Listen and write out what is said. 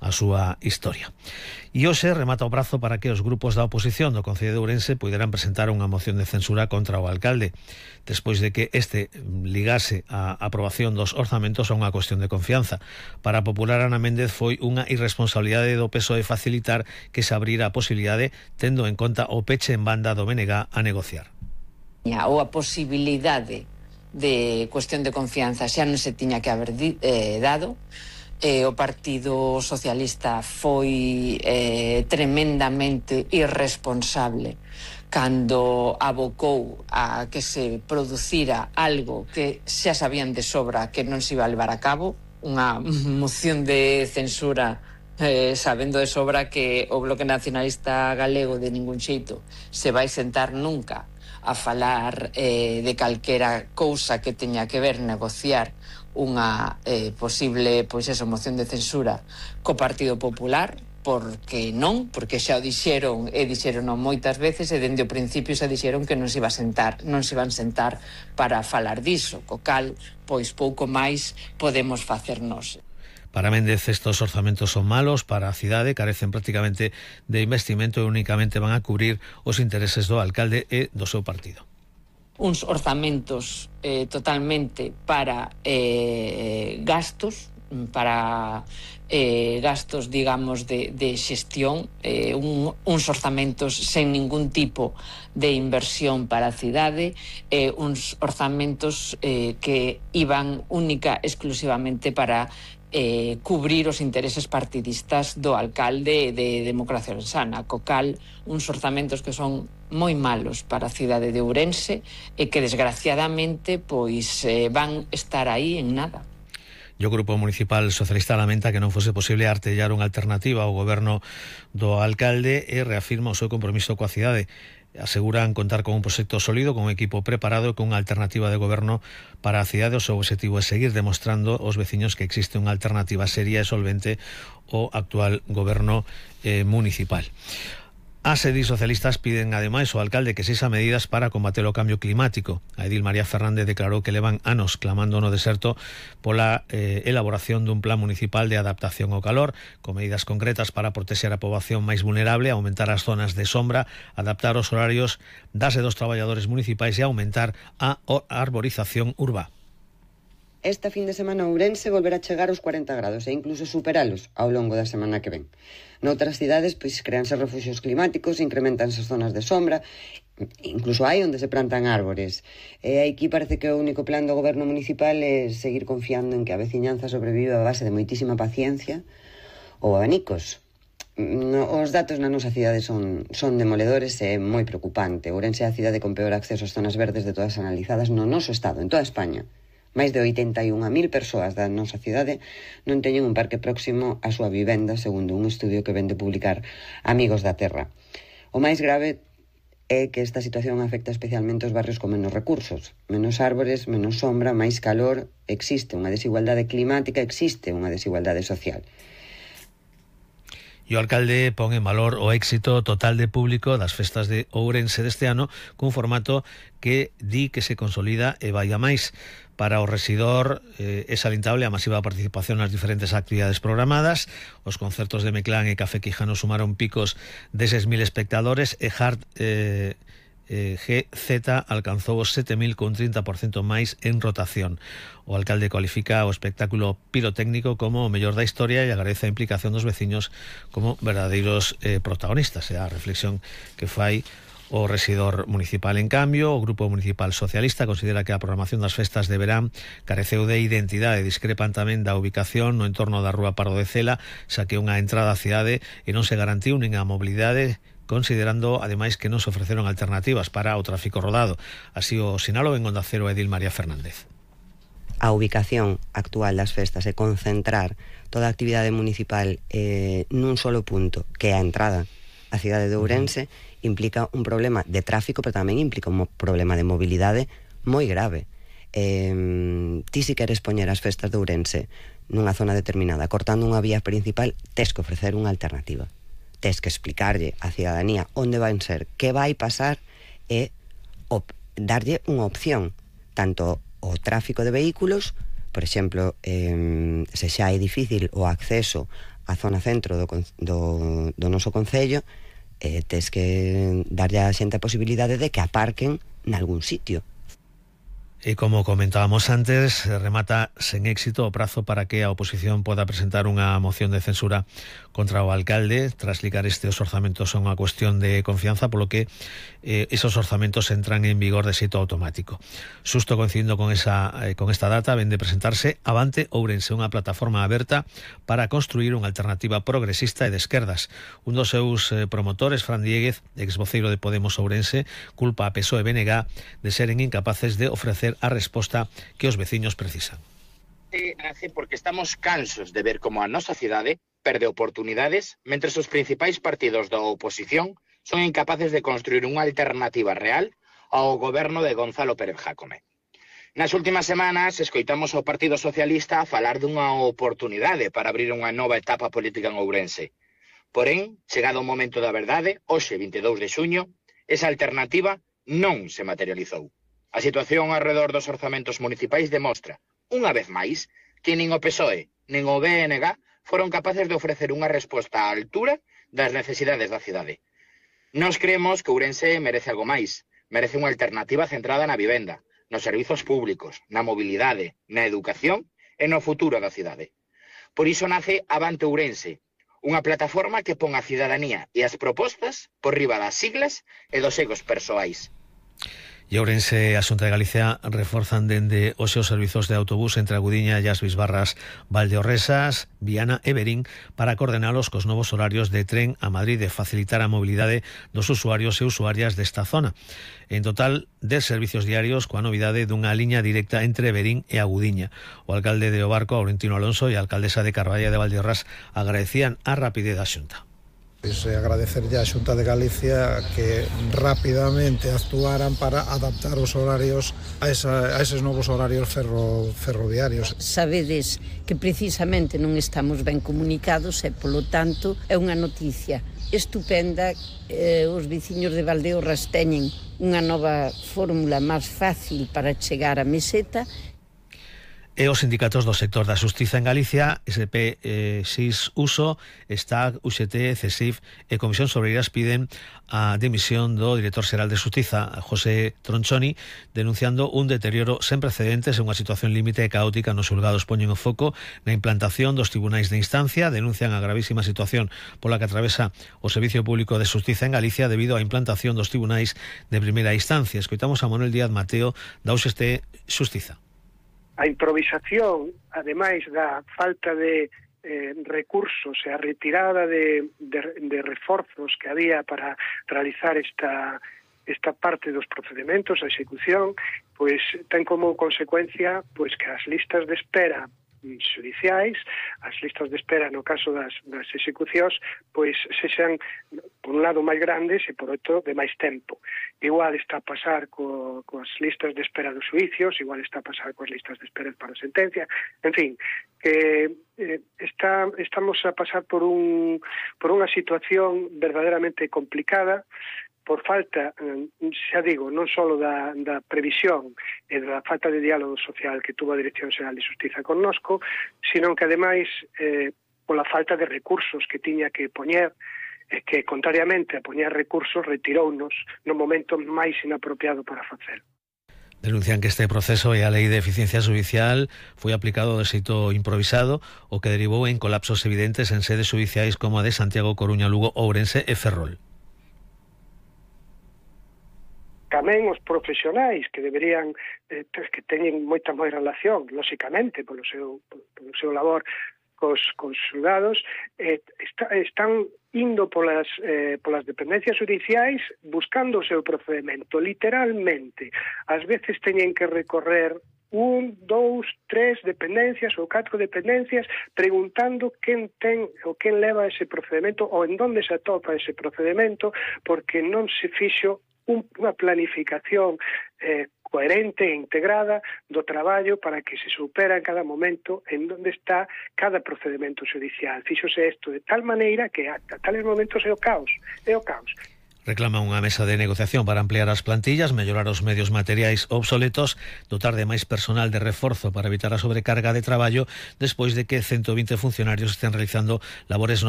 a súa historia. E hoxe remata o prazo para que os grupos da oposición do Concello de Ourense puderan presentar unha moción de censura contra o alcalde, despois de que este ligase a aprobación dos orzamentos a unha cuestión de confianza. Para a popular Ana Méndez foi unha irresponsabilidade do PSOE facilitar que se abrira a posibilidade, tendo en conta o peche en banda do BNG a negociar. Ou a posibilidade de cuestión de confianza xa non se tiña que haber dado. O Partido Socialista foi tremendamente irresponsable cando abocou a que se producira algo que xa sabían de sobra que non se iba a levar a cabo, unha moción de censura sabendo de sobra que o Bloque Nacionalista Galego de ningún xeito se vai sentar nunca a falar de calquera cousa que teña que ver negociar unha posible moción de censura co Partido Popular, porque xa o dixeron e dixeron moitas veces, e dende o principio xa dixeron que non se iban sentar para falar diso, co cal pouco máis podemos facernos. Para Méndez, estos orzamentos son malos para a cidade, carecen prácticamente de investimento e únicamente van a cubrir os intereses do alcalde e do seu partido. Uns orzamentos totalmente para gastos, digamos, de xestión, uns orzamentos sen ningún tipo de inversión para a cidade, uns orzamentos que iban única exclusivamente para cubrir os intereses partidistas do alcalde de Democracia Ourensana, co cal uns orzamentos que son moi malos para a cidade de Ourense e que desgraciadamente van estar aí en nada. E o Grupo Municipal Socialista lamenta que non fose posible artellar unha alternativa ao goberno do alcalde e reafirma o seu compromiso coa cidade. Aseguran contar con un proxecto sólido, con un equipo preparado e con unha alternativa de goberno para a cidade. O seu objetivo é seguir demostrando aos veciños que existe unha alternativa seria e solvente ao actual goberno municipal. As edil socialistas piden ademais ao alcalde que sexa medidas para combater o cambio climático. A edil María Fernández declarou que levan anos clamando no deserto pola elaboración dun plan municipal de adaptación ao calor, con medidas concretas para protexer a poboación máis vulnerable, aumentar as zonas de sombra, adaptar os horarios das e dos traballadores municipais e aumentar a arborización urbá. Esta fin de semana Ourense volverá a chegar aos 40 grados e incluso superalos ao longo da semana que ven. Noutras cidades, créanse refuxios climáticos, incrementanse as zonas de sombra, incluso hai onde se plantan árbores. E aquí parece que o único plan do goberno municipal é seguir confiando en que a veciñanza sobrevive a base de moitísima paciencia ou abanicos. Os datos na nosa cidade son demoledores e moi preocupante. Ourense é a cidade con peor acceso ás zonas verdes de todas analizadas no noso estado, en toda España. Máis de 81.000 persoas da nosa cidade non teñen un parque próximo á súa vivenda, segundo un estudio que ven de publicar Amigos da Terra. O máis grave é que esta situación afecta especialmente os barrios con menos recursos. Menos árbores, menos sombra, máis calor. Existe unha desigualdade climática, existe unha desigualdade social. E o alcalde pon en valor o éxito total de público das festas de Ourense deste ano, cun formato que di que se consolida e vai a máis. Para o rexidor é salientable a masiva participación nas diferentes actividades programadas. Os concertos de Meclán e Café Quijano sumaron picos de 6.000 espectadores e Hard GZ alcanzou os 7.000 con 30% máis en rotación. O alcalde cualifica o espectáculo pirotécnico como o mellor da historia e agradece a implicación dos veciños como verdadeiros protagonistas. É a reflexión que fai o rexidor municipal. En cambio, o Grupo Municipal Socialista considera que a programación das festas de verán careceu de identidade. Discrepan tamén da ubicación no entorno da Rúa Pardo de Cela, xa que unha entrada á cidade e non se garantiu nin a mobilidade, considerando ademais que non se ofreceron alternativas para o tráfico rodado. Así o sinalou en Onda Cero edil María Fernández. A ubicación actual das festas é concentrar toda a actividade municipal nun solo punto, que é a entrada á cidade de Ourense, implica un problema de tráfico, pero tamén implica un problema de mobilidade moi grave. Ti si queres poñer as festas de Ourense nunha zona determinada, cortando unha vía principal, tes que ofrecer unha alternativa. Tes que explicarlle á cidadanía onde van ser, que vai pasar e darlle unha opción, tanto o tráfico de vehículos, por exemplo, se xa é difícil o acceso a zona centro do noso concello, tes que darlle a xente a posibilidade de que aparquen nalgún sitio. E como comentábamos antes, remata sen éxito o prazo para que a oposición poda presentar unha moción de censura contra o alcalde tras ligar os orzamentos a unha cuestión de confianza, polo que esos orzamentos entran en vigor de xeito automático. Xusto coincidindo con esta data, ven de presentarse Avante Ourense, unha plataforma aberta para construir unha alternativa progresista e de esquerdas. Un dos seus promotores, Fran Dieguez, exvoceiro de Podemos Ourense, culpa a PSOE e BNG de seren incapaces de ofrecer a resposta que os veciños precisan. Nace porque estamos cansos de ver como a nosa cidade perde oportunidades mentre os principais partidos da oposición son incapaces de construir unha alternativa real ao goberno de Gonzalo Pérez Jácome. Nas últimas semanas escoitamos ao Partido Socialista a falar dunha oportunidade para abrir unha nova etapa política en Ourense. Porén, chegado o momento da verdade, hoxe 22 de xuño, esa alternativa non se materializou. A situación alrededor dos orzamentos municipais demostra, unha vez máis, que nin o PSOE nin o BNG foron capaces de ofrecer unha resposta á altura das necesidades da cidade. Nós creemos que Ourense merece algo máis, merece unha alternativa centrada na vivenda, nos servizos públicos, na mobilidade, na educación e no futuro da cidade. Por iso nace Avante Ourense, unha plataforma que pon a cidadanía e as propostas por riba das siglas e dos egos persoais. E Ourense e a Xunta de Galicia reforzan dende os seus servizos de autobús entre a Gudiña e as Bisbarras, Valdeorresas, Viana e Verín para coordenalos cos novos horarios de tren a Madrid e facilitar a mobilidade dos usuarios e usuarias desta zona. En total, 10 servicios diarios coa novidade dunha liña directa entre Verín e a Gudiña. O alcalde de Obarco, Aurentino Alonso, e a alcaldesa de Carballa de Valdeorras agradecían a rapidez da Xunta. Agradecerlle á Xunta de Galicia que rapidamente actuaran para adaptar os horarios a eses novos horarios ferroviarios. Sabedes que precisamente non estamos ben comunicados e, polo tanto, é unha noticia estupenda. Os veciños de Valdeorras teñen unha nova fórmula máis fácil para chegar á meseta. E os sindicatos do sector da xustiza en Galicia, SP6 Uso, STAG, UGT, CESIF e Comisión Sobreiras piden a dimisión do director xeral de Xustiza, José Tronchoni, denunciando un deterioro sen precedentes e unha situación límite e caótica nos xulgados. Poñen o foco na implantación dos tribunais de instancia, denuncian a gravísima situación pola que atravesa o Servicio Público de Xustiza en Galicia debido á implantación dos tribunais de primeira instancia. Escoitamos a Manuel Díaz Mateo da UGT Xustiza. A improvisación, ademais da falta de recursos e a retirada de reforzos que había para realizar esta parte dos procedementos, a execución, pois ten como consecuencia pois que as listas de espera xudiciais, as listas de espera no caso das execucións, pois sexan por un lado máis grandes e por outro de máis tempo. Igual está a pasar coas listas de espera dos xuicios, igual está a pasar coas listas de espera para a sentencia, en fin, que estamos a pasar por unha situación verdadeiramente complicada, por falta, xa digo, non só da previsión e da falta de diálogo social que tuvo a Dirección Xeral de Xustiza connosco, sino que, ademais, pola falta de recursos que tiña que poñer, que, contrariamente a poñer recursos, retirounos no momento máis inapropiado para facelo. Denuncian que este proceso e a Lei de Eficiencia Judicial foi aplicado de xeito improvisado, o que derivou en colapsos evidentes en sedes judiciais como a de Santiago, Coruña, Lugo, Ourense e Ferrol. Tamén os profesionais que deberían, que teñen moita máis relación, lóxicamente, polo seu labor cos xulgados, están indo polas dependencias judiciais buscando o seu procedimento, literalmente. Ás veces teñen que recorrer 1, 2, 3 dependencias ou 4 dependencias preguntando quen ten ou quen leva ese procedimento ou en donde se atopa ese procedimento, porque non se fixo unha planificación coherente e integrada do traballo para que se supera en cada momento en onde está cada procedimento judicial. Fíxose isto de tal maneira que a tales momentos é o caos. Reclama unha mesa de negociación para ampliar as plantillas, mellorar os medios materiais obsoletos, dotar de máis personal de reforzo para evitar a sobrecarga de traballo despois de que 120 funcionarios estén realizando labores